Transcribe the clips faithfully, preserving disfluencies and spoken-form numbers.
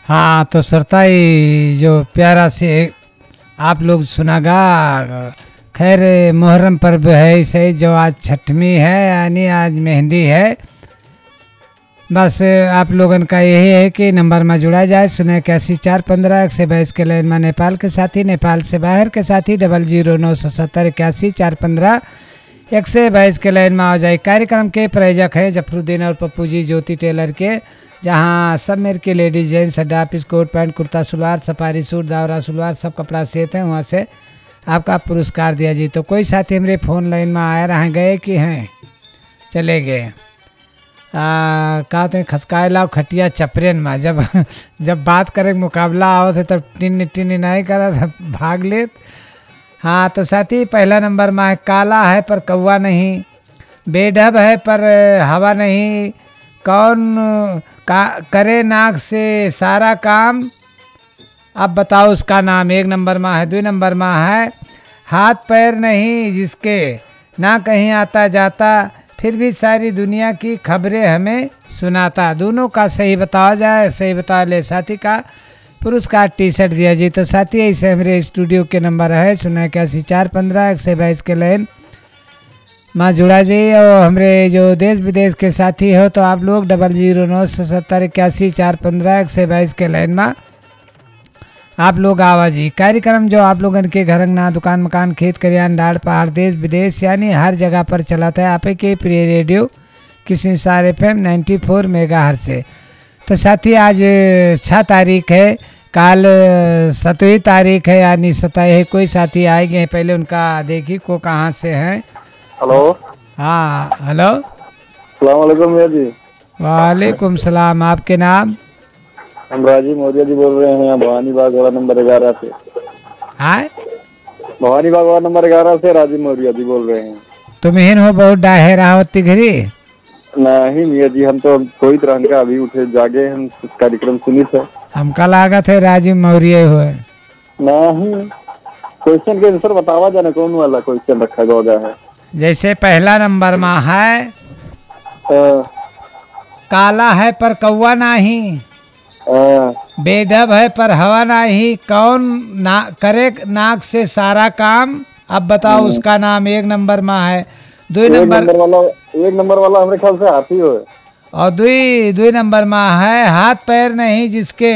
हाँ, तो श्रोता, ये जो प्यारा से आप लोग सुनागा, खैर, मोहर्रम पर्व है, सही जो आज छठवीं है, यानी आज मेहंदी है। बस आप लोगन का यही है कि नंबर में जुड़ा जाए, शून्य इक्यासी चार पन्द्रह एक सौ बाईस के लाइन में नेपाल के साथी, नेपाल से बाहर के साथी डबल जीरो नौ सौ सत्तर इक्यासी चार पन्द्रह एक सौ बाईस के लाइन में आ जाए। कार्यक्रम के प्रायोजक है जफरुद्दीन और पप्पू जी ज्योति टेलर के, जहाँ सब मेर के लेडीज जेंट्स अड्डा piece coat pant kurta salwar safari suit दावरा सलवार सब कपड़ा सेत हैं, वहाँ से आपका पुरस्कार दिया जी। तो कोई साथी हमरे फोन लाइन में आए रह गए कि हैं चले गए। आ, कहते हैं खसकाए लाओ खटिया चपरेन में। जब, जब बात करे के मुकाबला आवत है तब टिन टिन नहीं करत, भाग लेत। हाँ, तो साथी, पहला नंबर में है, काला है पर कौवा नहीं, बेढब है पर हवा नहीं, कौन का करे नाक से सारा काम, अब बताओ उसका नाम। एक नंबर में है, दो नंबर में है, हाथ पैर नहीं जिसके, ना कहीं आता जाता, फिर भी सारी दुनिया की खबरें हमें सुनाता। दोनों का सही बतावा जाए, सही बता ले साथी का पुरस्कार टी शर्ट दिया जी। तो साथी, ऐसे हमरे स्टूडियो के नंबर है शून्य इक्यासी चार पन्द्रह एक सौ बाईस के लाइन में जुड़ा जी। और हमरे जो देश विदेश के साथी हो तो आप लोग डबल जीरो नौ सौ सत्तर इक्यासी चार पन्द्रह एक सौ बाईस के लाइन में आप लोग आवा जी। कार्यक्रम जो आप लोगन के घर अंगना, दुकान मकान, खेत खरियान, डाड़ पहाड़, देश विदेश यानी हर जगह पर चलत है, आपे के प्रिय radio Kisinsar F M ninety four megahertz से। तो साथी, आज छः तारीख है, काल सतवीं तारीख है यानी सताई है। कोई साथी आए गए हैं, पहले उनका देखी को कहाँ से हैं। हेलो। हाँ, हेलो। सलाम वालेकुम भैया जी। वालेकुम सलाम, आपके नाम? हम राजीव मौर्य जी बोल रहे हैं, भवानी बाग वार्ड नंबर ग्यारह से। हाँ? भवानी बाग वार्ड नंबर ग्यारह से राजीव मौर्य जी बोल रहे हैं। तुम हिन हो बहुत डाहे रहा होती घरी? नहीं मियाँ जी, हम तो सोइत रहन का, अभी उठे जागे, हम कार्यक्रम सुनित है। हमका लागत है राजीव मौर्य हो। नहीं, क्वेश्चन के आंसर बतावा जाना, कौन वाला क्वेश्चन रखा गया है? जैसे पहला नंबर में है, हाँ। काला है पर कौवा नाही, हाँ। बेढब है पर हवा नाही, कौन ना करे नाक से सारा काम, अब बताओ हम्म। उसका नाम। एक नंबर में है, दो एक नंबर नंबर वाला, एक नंबर वाला हमरे ख्याल से हाथी हो। और दुई, दुई नंबर में है, हाथ पैर नहीं जिसके,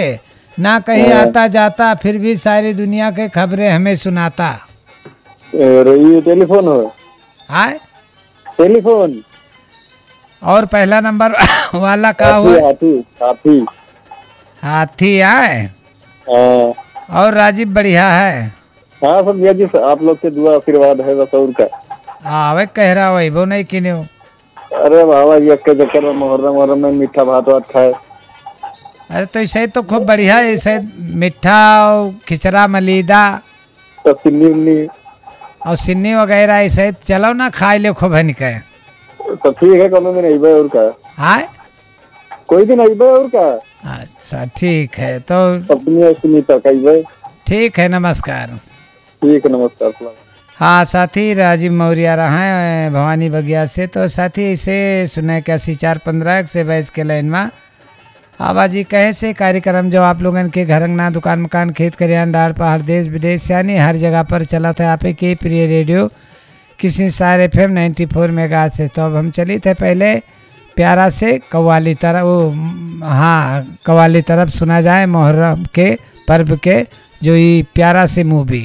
ना कहीं हाँ। आता जाता, फिर भी सारी दुनिया के खबरें हमें सुनाता। अरे, ये टेलीफोन हो। आय? टेलीफोन। और पहला नंबर वाला का हाथी, हुआ? हाथी, हाथी। हाथी आय? हाँ। और राजीव बढ़िया है? हाँ, सब भैया जी, आप लोग के दुआ आशीर्वाद है बस, और का। आवे कह रहा, वही वो नहीं किन्यो। अरे बाबा जी, अक्के चक्कर में मुहर्रम, मुहर्रम में मीठा भात वात खाए। अरे तो ऐसे ही तो खूब बढ़िया है, ऐसे मीठा और खिचड़ा मलीदा। तो सिन्नी उन्नी। और सिन्नी वगैरह ऐसे ही चलो ना, खाए ले खूब है निके। तो ठीक है, कोनो दिन अइबे और का। हाँ? कोई दिन अइबे और का। अच्छा, ठीक है, तो अपनी और सिन्नी तक अइबे। ठीक है, नमस्कार। ठीक है, नमस्कार, सलाम। हाँ, साथी राजीव मौर्य रहा है, भवानी बगिया से। तो साथी, इसे सुने इक्यासी चार पन्द्रह एक से बाईस के लाइन में। आवाजी कहे से कार्यक्रम जो आप लोगन के घर अंगना, दुकान मकान, खेत खरियान, डाड़ पहाड़, देश विदेश, यानी हर जगह पर चलत है आपे के प्रिय radio Kisinsar F M ninety four megahertz से। तो अब हम चलित है पहले प्यारा से कव्वाली तरफ, वो, हाँ, कव्वाली तरफ सुना जाए मुहर्रम के पर्व के, जो ई प्यारा से मूवी।